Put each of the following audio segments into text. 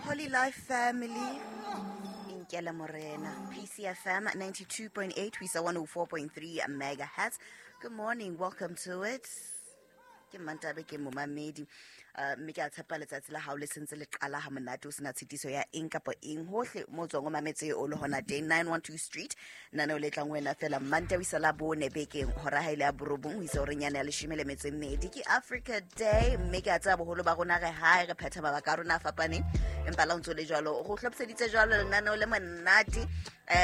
Holy Life Family Inkela Morena, PCFM 92.8 ho isa 104.3 megahertz. Good morning, welcome to it. Ke Mmantabe, ke momamedi. Mme ke a tshepa letsatsi la hao le sentse le qala ha monate, o sena tshitiso ya eng kapa eng hohle mo tswang o mametse o le hona teng. 912 Street, nano le tlang wena fela Mmantawe isa la bone bekeng, hora ha ile ya borobong ho isa horeng yane ya 12. Ke Africa Day, mme ke a tseba boholo ba rona re hae, re phetha mabaka a rona a fapaneng, empa la o ntso le jwalo go hlophiseditse jwalo lenaneo le monate,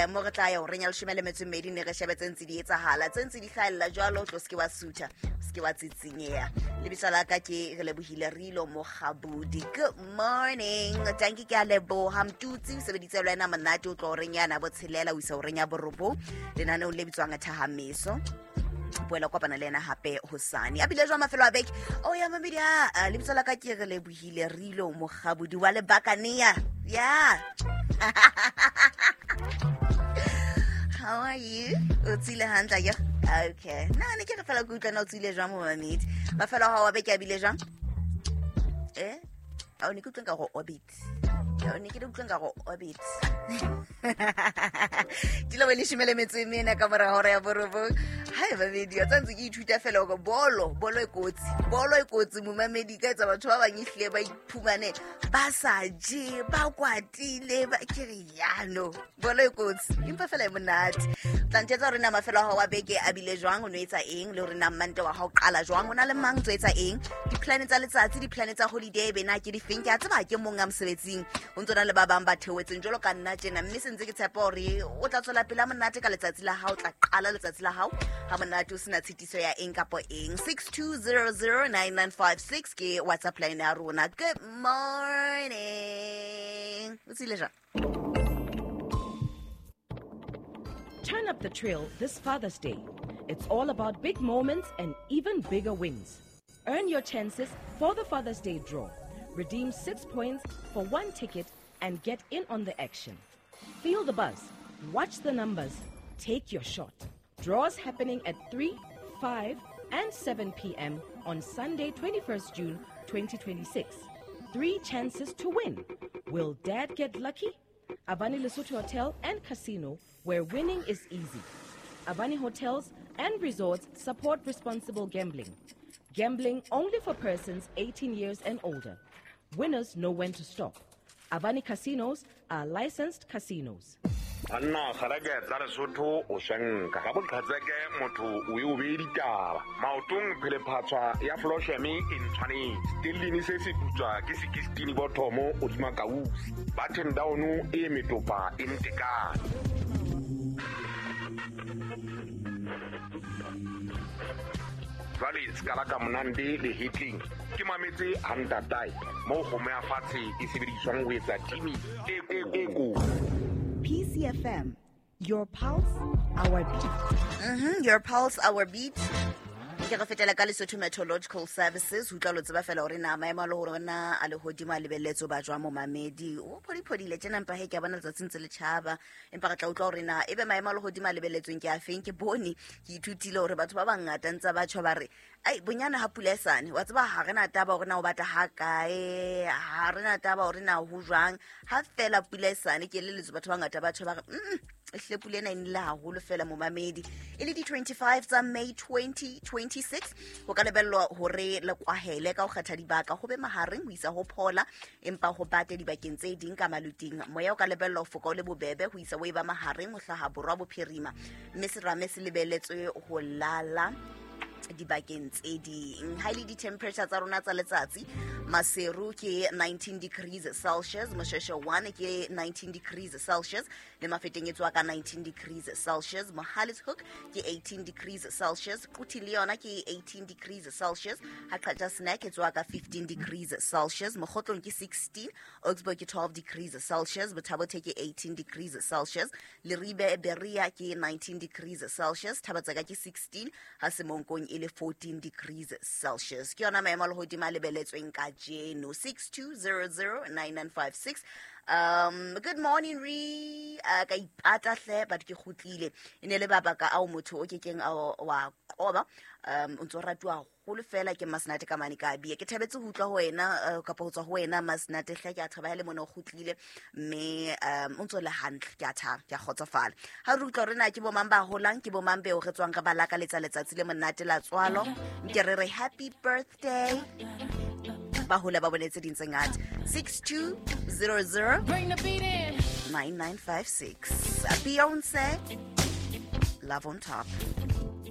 mo re tla ya horeng ya 12, ne re shebe tse ntse di etsahala, tse ntse di hlahella jwalo. Tlo se ke wa sutha, se ke wa tsitsinyeha. Lebitso la ka ke re lebohile Rilo Mogabudi. Good morning, tanki, ke a leboha. Mtutsi o sebeditse le wena monate o tlo horeng yana botshelela o isa horeng ya borobong lenaneong le bitswang Thahameso. Boela kopana le ena hape hosane. A bile jwang mafelo a beke o ya mamedi? A lebitso la ka ke re lebohile Rilo Mogabudi wa Lebakanea. Yeah, how are you? O tsile hantle ya? Okay, na ne ke re fela ke utlwa na o tsile jwang, momamedi. Mafelo a hao wa beke a bile jwang? A o ne ke utlweng ka go orbit, o ne ke utlweng ka go orbit dilo be 14 ka mora hora ya borobong. Hai mamedi, a tsantse ke ithuta fela gore bolo e kotsi, bolo e kotsi, momamedi. Ka etsa batho ba bang ehlile ba iphumane ba sa je, ba kwatile, ba ke re yano bolo e kotsi, empa fela e monate. Tla ntjwetsa hore na mafelo a hao wa beke a bile jwang, o no etsa eng, le hore na Mmante wa hao qala jwang, o na le mang, tso etsa eng, di-plan tsa letsatsi, di-plan tsa holiday bena ke difeng. Ke a tseba ke mong a mosebetsing, o ntso na le ba bang ba theohetseng jwalo ka nna tjena, mme se ntse ke tshepa hore o tla tswela pele ha monate ka letsatsi la hao, tla qala letsatsi la hao ha monate o sena tshitiso ya eng kapa eng. 62009956 ke WhatsApp line ya rona. Good morning, o tsile jwang? Turn up the trail this Father's Day. It's all about big moments and even bigger wins. Earn your chances for the Father's Day draw. Redeem 6 points for one ticket and get in on the action. Feel the buzz, watch the numbers, take your shot. Draws happening at 3, 5, and 7 p.m. on Sunday, 21st June 2026. Three chances to win. Will Dad get lucky? Avani Lesotho Hotel and Casino, where winning is easy. Avani Hotels and Resorts support responsible gambling. Gambling only for persons 18 years and older. Winners know when to stop. Avani Casinos are licensed casinos. Banna kgareke tsa Lesotho, o shanka ga boqhatseke, motho o e o bee ditaba maotong, phelephatswa ya flosheme e ntshwanetse tellini se se putswa ke 16 bothomo odima kausi button down e metopa e ntekane. Jwale se ka la ka monande le hetleng ke mametse hantatae moo kgomo ya fatshe e sebediswang ho etsa timi e kotsi. PCFM, your pulse, our beat. Your pulse, our beat. Ke re fetela ka Lesotho Meteorological Services ho utlwa lo tseba fela hore na maemo a le hore na a lehodimo a lebelletse ba jwang. Momamedi o phodiphodile tjena, empa he ke a bona letsatsi ntse le tjhaba, empa re tla utlwa hore na ebe maemo a lehodimo a lebelletsweng ke a feng. Ke bone ke ithutile hore batho ba bangata ntse ba tjho ba re ai bonyane ha pula e sane, wa tseba ha re na taba hore na o bata ha kae, ha re na taba hore na ho jwang, ha fela pula e sane. Ke eleletswe batho ba bangata ba tjho ba re ehlile pula ena e nile haholo fela. Momamedi, e le di-25 tsa May 2026, ho ka lebellwa hore le kwahele ka ho kgetha dibaka, ho be mahareng ho isa ho phola, empa ho bate dibakeng tse ding ka maluting. Moya o ka lebellwa ho foka o le bobebe ho isa o e ba mahareng ho hlaha borwa bophirima, mme serame se lebelletswe ho lala dibakeng tse ding. Ha e le di-temperature tsa rona tsa letsatsi, Maseru ke 19 degrees Celsius, Mosheshe 1 ke 19 degrees Celsius, le Mafeteng e tswa ka 19 degrees Celsius, Mohale's Hoek ke 18 degrees Celsius, Quti le yona ke 18 degrees Celsius, ha Qacha's Nek e tswa ka 15 degrees Celsius, Mokhotlong ke 16, Augsburg ke 12 degrees Celsius, Botha-Bothe ke 18 degrees Celsius, Leribe Berea ke 19 degrees Celsius, Thabatseka ke 16, ha Semonkong e le 14 degrees Celsius. Ke yona maemo a lehodimo a lebeletsweng kajeno. 62009956. Good morning re ka ipata hle, but ke kgutlile. E ne le mabaka ao motho o kekeng a wa qoba. O ntso ratuwa haholo fela ke Masenate ka mane ka bia. Ke thabetse ho utlwa ho wena, kapa ho tswa ho wena Masenate hle. Ke a thaba ha le mona o kgutlile, mme o ntso le hantle. Ke a thaba, ke a kgotsofala ha re utlwa hore na ke bo mang ba holang, ke bo mang beo re tswang re ba lakaletsa letsatsi le monate la tswalo. Nke re re happy birthday, ba hole ba bone tse ding tse ngata. 6200 Bring the beat in. 9956. Beyonce, Love on Top.